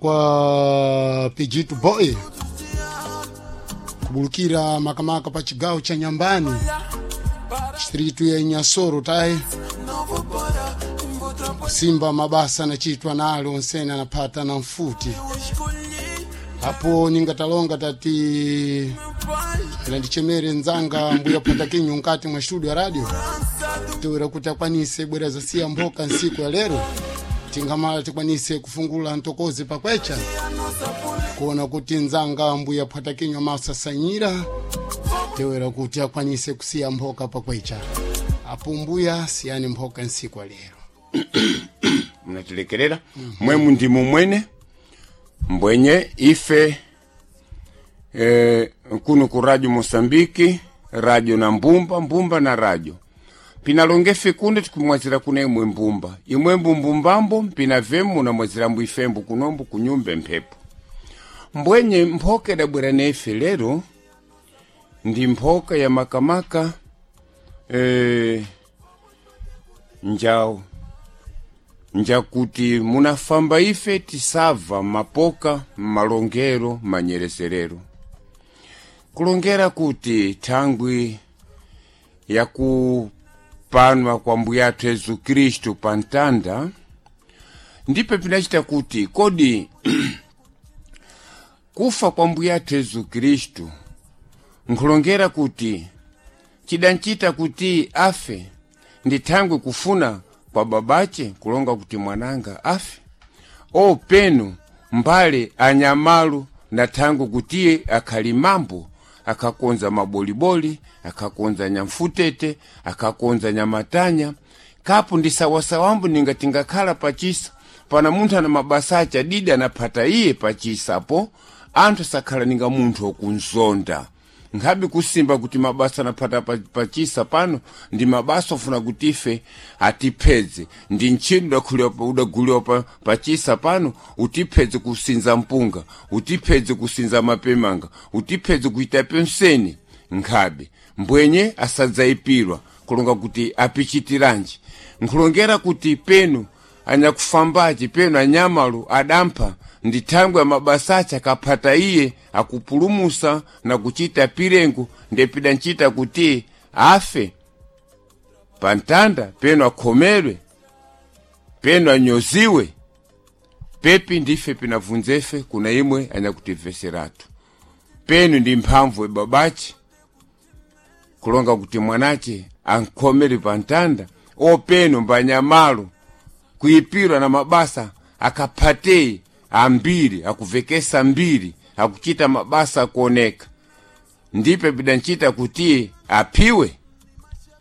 Kwa Pijitu Boy kubulukira makamaka pa chigawo cha Nyambani, distritu ya Inyasoro tayi kusimba mabasa nachitwa nalo onsene anapata na mfuti apo ningatalonga tati landichemere nzanga mbuya phata kinyu nkati mwa studio ya radio towera kuti akwanise bwera zasiya mphoka nsiku ya lero, tingamala tikwanise kufungula ntokozi pakwecha kuona kuti nzanga mbuya phata kinyu amasasanyira tewera kuti akwanise kusiya mphoka pakwecha apo. Mbuya, siyani mphoka nsiku ya lero. Mnatilekerera mwemu ndimu mwene mbwenye ife kuno ku Radio Mosambiki, radio na mbumba, mbumba na radio pinalongefe kuno tikumwazira kuna imwe mbumba, imwe mbumbumbambo mpina vemu munamwazirambo ifembo kunombo kunyumba mphepo. Mbwenye mphoka idabwera nefe lero ndi mphoka ya makamaka njawo njakuti munafamba ife tisava mapoka malongero manyereserero kulongera kuti thangwi yakupanwa kwa mbuyathu Yesu Kristu pa ntanda, ndipe pinachita kuti kodi kufa kwa mbuyathu Yesu Kristu nkulongera kuti chidanchita kuti afe ndi thangwi kufuna kwa babache kulonga kuti mwananga afe o penu mbale anyamalu na thangwi kutiye akhali mambo akakonza maboliboli, akakonza nyamfutete, akakonza nyamatanya kapu ndi sawasawambu ninga tingakhala pachisa pana munthu ana mabasa ache adidi anaphata iye pachisapo anthu asakhala ninga munthu okunzonda nkhabe kusimba kuti mabasa anaphata pachisa pano ndi mabasa ofuna kuti ife atiphedze ndi ntchito udaguliwa pachisa pano utiphedze kusinza mpunga, utiphedze kusinza mapemanga, utiphedze kuita penseni nkhabe mbwenye asadzayipirwa kulonga kuti apichitiranji nkulongera kuti penu anyakufambaci penu anyamalu adampha ndi thangwi ya mabasa ache akaphata iye akupulumusa na kuchita pirengo ndepidanchita kuti afe pantanda penu akhomerwe penu anyoziwe pepi ndife pinabvunzefe kuna imwe anyakutimveseratu penu ndi mphamvu ebabache kulonga kuti mwanache ankhomere pantanda o penu mbanyamalo kuipirwa na mabasa akaphatei ambiri akuvekesa mbiri akuchita mabasa akuoneka ndipe pidanchita kuti aphiwe.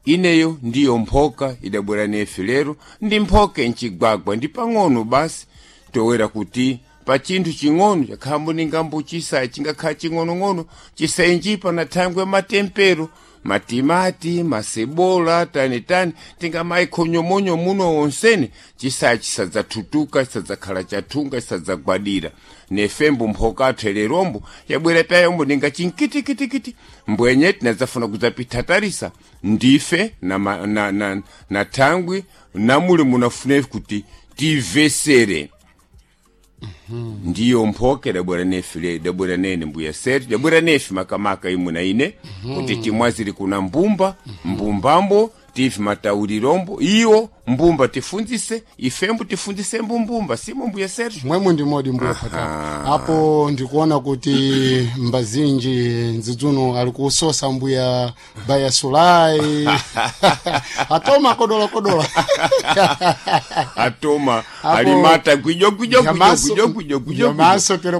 Ineyo ndiyo mphoka idabwera nefe lero ndi mphoka nchigwagwa ndi pang'ono basi towera kuti pa chinthu ching'ono chakhambo ningambo chisayi chingakhala ching'onong'ono chisayi na thangwi ya matempero matimati masebola tanitani tingamayi khonyomonyo muno wonsene chisayi chisadzathutuka, chisadzakhala chathunga, chisadzagwadira nefembo mphoka athu lerombo yabwera payombo ninga chinkitikitikiti mbwenye tinadzafuna kudzapithatarisa ndife na, na, na, na thangwi namuli munafune kuti tivesere. Ndiyo mphoka idabwera nefe le idabwera nene mbuya setu idabwera nefe makamaka imwe na ine kuti timwaziri kuna mbumba mbumbambo tife mataurirombo iwo mbumba tifunzise ifembo tifunzise mbumbumba simo mbuya setu. Mwemwe ndi modi mbuya phata apo ndikuona kuti mbazinji nzidzuno ali kusosa mbuya baya sulai atoma kodola kodola. Atoma alimata gwijo gwijo gwijo gwijo gwijo gwijo. Nyamaso.